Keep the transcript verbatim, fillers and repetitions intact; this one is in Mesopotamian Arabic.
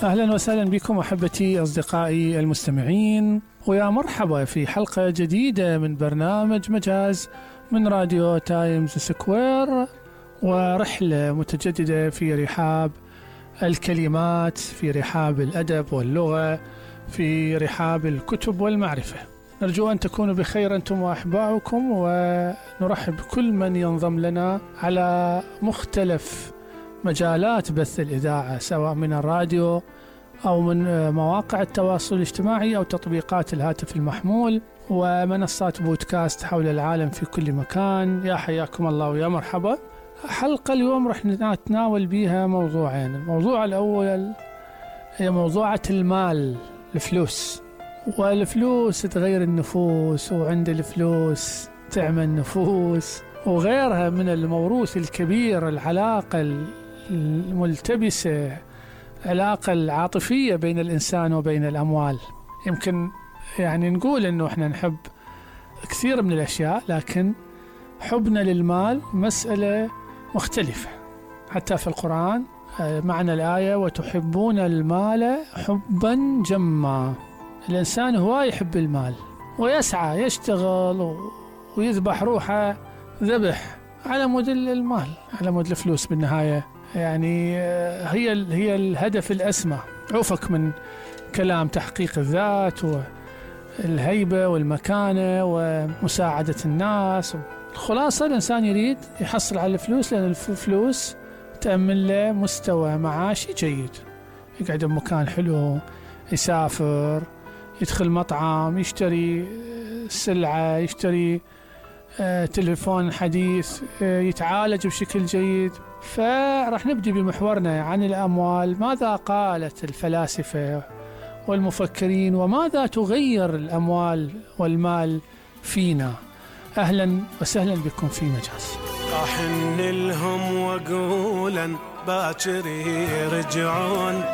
أهلا وسهلا بكم أحبتي أصدقائي المستمعين، ويا مرحبا في حلقة جديدة من برنامج مجاز من راديو تايمز سكوير، ورحلة متجددة في رحاب الكلمات، في رحاب الأدب واللغة، في رحاب الكتب والمعرفة. نرجو أن تكونوا بخير أنتم وأحباؤكم، ونرحب بكل من ينضم لنا على مختلف مجالات بث الإذاعة، سواء من الراديو أو من مواقع التواصل الاجتماعي أو تطبيقات الهاتف المحمول ومنصات بودكاست حول العالم في كل مكان. يا حياكم الله ويا مرحبا. حلقة اليوم رح نتناول بيها موضوعين. الموضوع الأول هي موضوعة المال، الفلوس، والفلوس تغير النفوس، وعند الفلوس تعمل نفوس، وغيرها من الموروث الكبير، العلاقة الملتبسة، علاقة العاطفية بين الإنسان وبين الأموال. يمكن يعني نقول إنه إحنا نحب كثير من الأشياء، لكن حبنا للمال مسألة مختلفة. حتى في القرآن معنى الآية وتحبون المال حبا جما. الإنسان هو يحب المال ويسعى يشتغل ويذبح روحه ذبح على مود المال، على مود الفلوس بالنهاية. يعني هي هي الهدف الأسمى. عوفك من كلام تحقيق الذات والهيبة والمكانة ومساعدة الناس. الخلاصة الإنسان يريد يحصل على الفلوس، لأن الفلوس تأمن له مستوى معاشي جيد، يقعد بمكان حلو، يسافر، يدخل مطعم، يشتري سلعة، يشتري تليفون حديث، يتعالج بشكل جيد. فرح نبدأ بمحورنا عن الأموال. ماذا قالت الفلاسفة والمفكرين، وماذا تغير الأموال والمال فينا؟ أهلا وسهلا بكم في مجاز. أحن لهم وقولا باكر يرجعون،